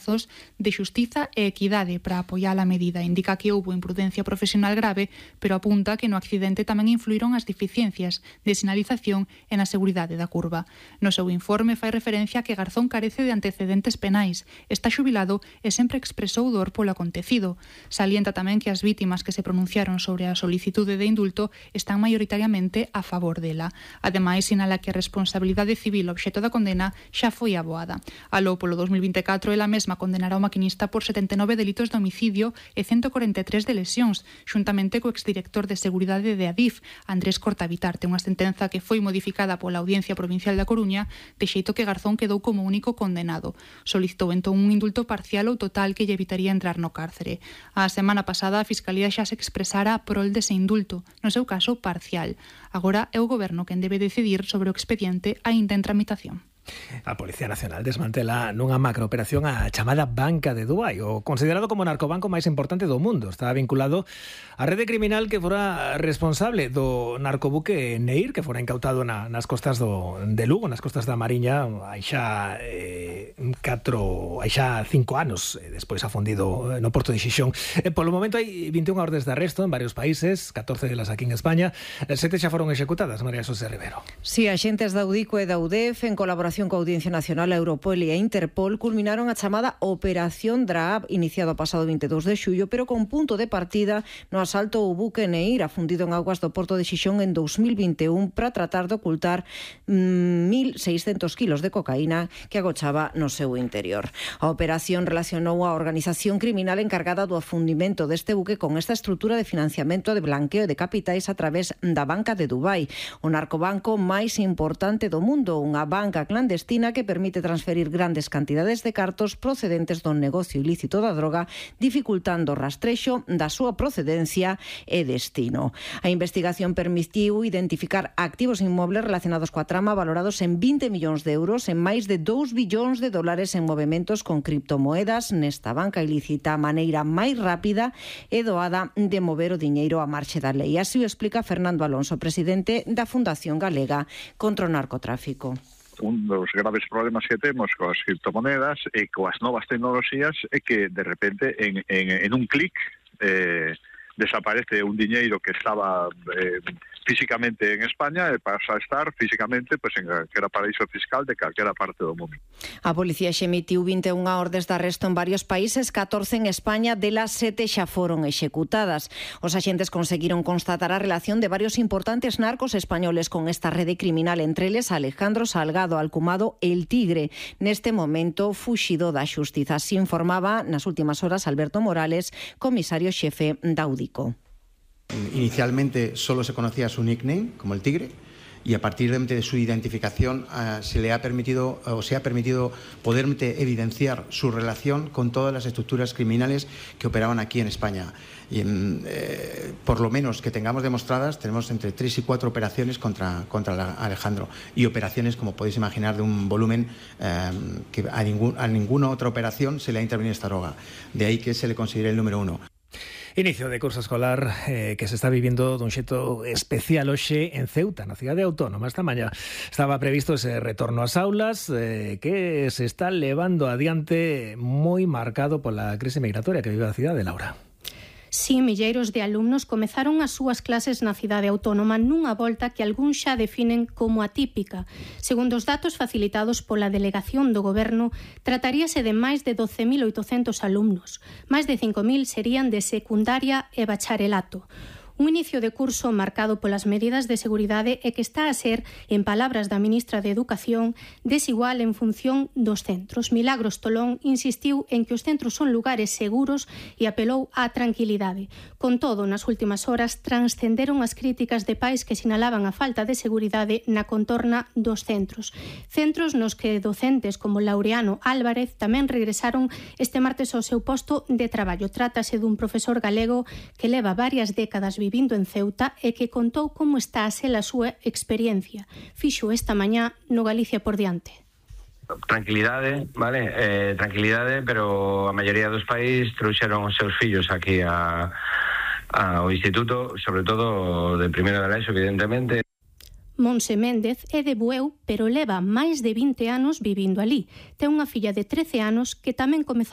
razóns de xustiza e equidade para apoiar a medida. Indica que houbo imprudencia profesional grave, pero apunta que no accidente tamén influíron as deficiencias de sinalización e na seguridade da curva. No seu informe fai referencia a que Garzón carece de antecedentes penais, está xubilado e sempre expresou dor polo acontecido. Salienta tamén que as vítimas que se pronunciaron sobre a solicitude de indulto están maioritariamente a favor dela. Ademais, sinala que a responsabilidade civil obxeto da condena xa foi aboada. Aló polo 2024, ela mesma condenará o maquinista por 79 delitos de homicidio e 143 de lesións, xuntamente co exdirector de Seguridade de Adif, Andrés Cortavitarte, unha sentenza que foi modificada pola Audiencia Provincial da Coruña, de xeito que Garzón quedou como único condenado. Solicitou entón un indulto parcial ou total que lle evitaría entrar no cárcere. A semana pasada, a Fiscalía xa se expresara a prol dese indulto, no seu caso parcial. Agora é o Goberno quen debe decidir sobre o expediente aínda en tramitación. A Policía Nacional desmantela nunha macrooperación a chamada Banca de Dubái, o considerado como o narcobanco máis importante do mundo. Está vinculado á rede criminal que fora responsable do narcobuque Neir, que fora incautado nas costas de Lugo, nas costas da Mariña, hai xa 5 anos, despois afundido no porto de Xixón. Polo momento hai 21 ordes de arresto en varios países, 14 delas aquí en España, 7 xa foron executadas. María Xosé Rivero. Si, axentes da UDICO e da UDEF, en colaboración coa Audiencia Nacional, a Europol e a Interpol, culminaron a chamada Operación Draab, iniciado o pasado 22 de xullo, pero con punto de partida no asalto ao buque Neir, afundido en augas do porto de Xixón en 2021 para tratar de ocultar 1.600 kilos de cocaína que agochaba no seu interior. A operación relacionou a organización criminal encargada do afundimento deste buque con esta estrutura de financiamento de blanqueo de capitais a través da Banca de Dubái, o narcobanco máis importante do mundo, unha banca clandestina que permite transferir grandes cantidades de cartos procedentes do negocio ilícito da droga, dificultando o rastrexo da súa procedencia e destino. A investigación permitiu identificar activos inmobles relacionados coa trama valorados en 20 millóns de euros en máis de 2 billóns de dólares en movementos con criptomoedas nesta banca ilícita, a maneira máis rápida e doada de mover o diñeiro a marxe da lei. Así o explica Fernando Alonso, presidente da Fundación Galega contra o Narcotráfico. Un dos graves problemas que temos coas criptomonedas e coas novas tecnoloxías é que de repente en un clic desaparece un diñeiro que estaba físicamente en España e pasa a estar físicamente en calquera paraíso fiscal de calquera parte do mundo. A policía xa emitiu 21 ordes de arresto en varios países, 14 en España, delas 7 xa foron executadas. Os axentes conseguiron constatar a relación de varios importantes narcos españoles con esta rede criminal, entre eles Alejandro Salgado, alcumado El Tigre, neste momento fuxido da xustiza. Así informaba nas últimas horas Alberto Morales, comisario xefe da UDICO. Inicialmente solo se conocía su nickname como El Tigre y a partir de su identificación se ha permitido poder evidenciar su relación con todas las estructuras criminales que operaban aquí en España. Y por lo menos que tengamos demostradas, tenemos entre 3 y 4 operaciones contra Alejandro, y operaciones, como podéis imaginar, de un volumen que a ninguna otra operación se le ha intervenido esta droga. De ahí que se le considere el número 1. Inicio de curso escolar que se está vivindo dun xeito especial hoxe en Ceuta, na cidade autónoma. Esta mañá estaba previsto ese retorno ás aulas que se está levando adiante moi marcado pola crise migratoria que vive a cidade, Laura. Si, milleiros de alumnos comezaron as súas clases na cidade autónoma nunha volta que algúns xa definen como atípica. Segundo os datos facilitados pola delegación do Goberno, trataríase de máis de 12.800 alumnos. Máis de 5.000 serían de secundaria e bacharelato. Un inicio de curso marcado polas medidas de seguridade e que está a ser, en palabras da ministra de Educación, desigual en función dos centros. Milagros Tolón insistiu en que os centros son lugares seguros e apelou á tranquilidade. Con todo, nas últimas horas transcenderon as críticas de pais que sinalaban a falta de seguridade na contorna dos centros. Centros nos que docentes como Laureano Álvarez tamén regresaron este martes ao seu posto de traballo. Trátase dun profesor galego que leva varias décadas vivindo en Ceuta e que contou como está a ser a súa experiencia. Fixo esta mañá no Galicia por diante. Tranquilidade, vale? Tranquilidade, pero a maioría dos pais trouxeron os seus fillos aquí ao instituto, sobre todo de primeiro de ESO, evidentemente. Monse Méndez é de Bueu, pero leva máis de 20 anos vivindo ali. Ten unha filla de 13 anos que tamén comezou